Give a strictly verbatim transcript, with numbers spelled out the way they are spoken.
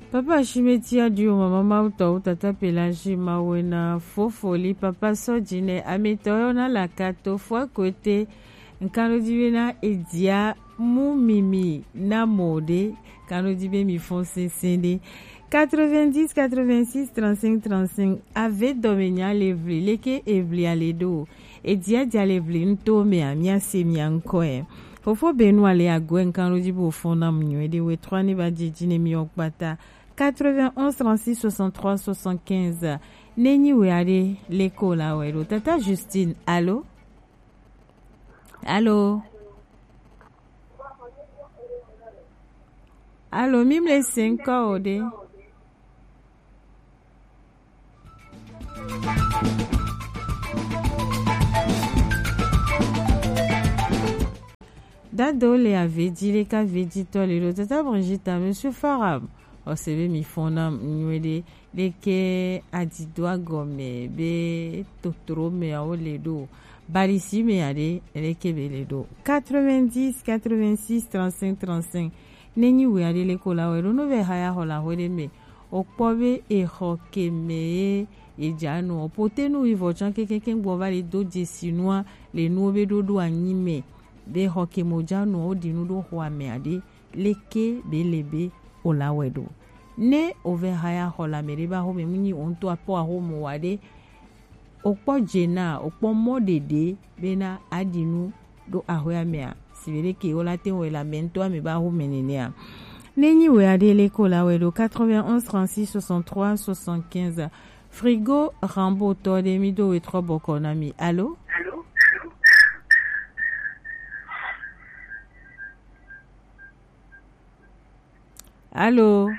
Papa Shimeti Adio, Mama Mauto, Tata Pelagie Mawena, Fofoli, Papa Sodjine, Ameto, Yona Lakato, Fouakote, Nkano Divina, Edia, Mumimi, Namode, Kano Dibe Mi Fonse Sende, quatre-vingt-dix, quatre-vingt-six, trente-cinq, trente-cinq, Ave Domenia Levli, Leke Evli Aledo, Edia Dia Levli, Ntome, Amia Semia Nkoe. Fofo Benoît le ague nkalo di bo fo na mu nyuie de we trois ni ba didi ne mi okpata quatre-vingt-onze trente-six soixante-trois soixante-quinze. Ne nyi we ade le ko la we do. Tata Justine, allô? Allô? Allô, mi mle cinq ode. Dado le avedi le ka vedi to le do. Tata Brigitte, Monsieur Farab, o se be mi fo na nyuie de, le ke adido agome be totoro me a o le do. Balisi me a de, le ke be le do. Quatre-vingt-dix, quatre-vingt-six, trente-cinq, trente-cinq. Ne nyi we a de le ko la we do, no be haya ho la ho de me. O kpɔ be exɔ ke me ye ye dza nu o. Pote nu yi vɔ tsã kekeke gbɔ va le do dzesi nua le nuwo be ɖoɖo anyi me. Be xɔ ke mo dza nu o ɖi nu ɖo xɔa me aɖe. Leke be le be o la wɛ ɖo? Ne o vɛ haya xɔ le ame ɖe be axome mu nyi o ŋutɔ akpɔ axome wa ɖe, o kpɔ dze na, o kpɔ mɔ ɖeɖe bena aɖi nu ɖo axɔea mea, si be ɖeke wo la te wɔ le ame ŋutɔ ame be axome nenea. Ne nyi wɛ aɖe le ko la wɛ ɖo quatre-vingt-onze trente-six soixante-trois soixante-quinze. Frigo Rambo tɔ ɖe mi do we trɔ bɔkɔ na mi. Alo? Alo?